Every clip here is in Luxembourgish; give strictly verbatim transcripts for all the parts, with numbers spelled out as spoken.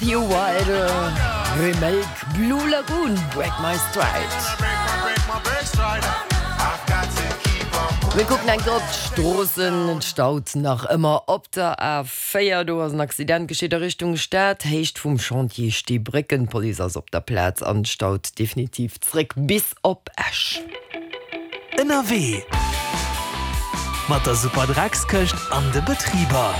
Theo Wilder Remake Blue Lagoon Break My Stride. Mir kucken eng Kéier op d'Stroossen. Et staut nach ëmmer op der A véier. Do ass en Accident geschitt a Richtung Stad, Héicht vum Chantier Steebrécken. D'Police ass op der Plaz an staut definitiv zréck bis op Esch. Ënnerwee mat der Superdreckskëscht an de Betriber.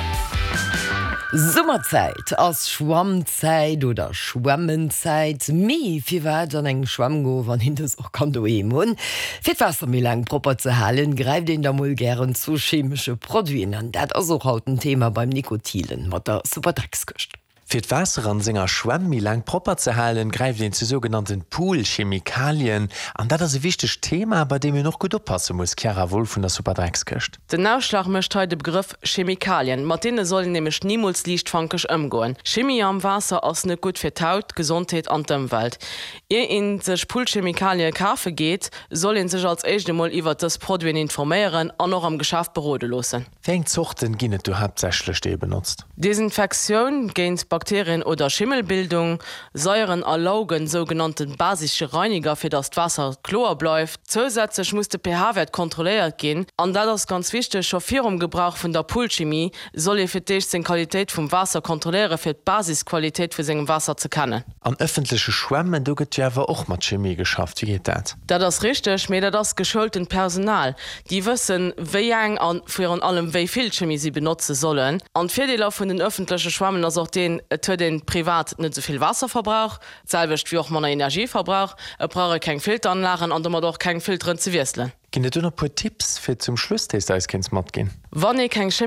Summerzäit ass Schwammzäit oder Schwämmenzäit. Mee firwat an eng Schwämm goen, wann een dës och kann doheem hunn? Fir d'Waasser méi laang propper ze halen, gräift een da mol gären zu chemesche Produiten. An dat ass och haut en Thema beim Nico Thielen mat der Superdreckskëscht. Fir d'Waasser an senger Schwämm méi laang propper ze halen, gräift een zu sougenannten Poolchemikalien. An dat ass e wichtegt Thema, bei deem een och gutt oppasse muss, Chiara Wolff vun der Superdreckskëscht. Den Ausschlag mécht hei de Begrëff Chemikalien. Mat deene soll een nämlech nimools liichtfankeg ëmgoen. Chimie am Waasser ass net gutt fir d'Haut, d'Gesondheet an d'Ëmwelt. Ier een sech Poolchemikalie kafe geet, soll een sech als éischt emol iwwert dës Produiten informéieren an och am Geschäft berode loossen. Wéi eng Zorten ginn et do haaptsächlech, déi ee benotzt? Desinfektioun géint Bakterien oder Schimmelbildung, Saieren a Laugen, sougenannte basische Reiniger, fir dass d'Waasser kloer bleift. Zousätzlech muss de P H-Wäert kontrolléiert ginn. An dat ass ganz wichteg, scho virum Gebrauch vun der Poolchimie soll ee fir d'éischt seng Qualitéit vum Waasser kontrolléieren, fir d'Basisqualitéit vu sengem Waasser ze kennen. An ëffentleche Schwämmen, do gëtt jo awer och mat Chimie geschafft. Wéi geet dat? Dat ass richteg, mee dat ass geschoultent Personal. Déi wëssen, wéi eng a virun allem wéi vill Chimie si benotze sollen. An d'Virdeeler vun den ëffentleche Schwämmen ass och deen, et huet een privat net esou vill Waasserverbrauch, d'selwecht wéi och manner Energieverbrauch, et brauch ee keng Filteranlagen an domat och keng Filteren ze wiesselen. Ginn et do nach e puer Tipps fir zum Schluss, déi s de eis kéints matginn? Wann ee keng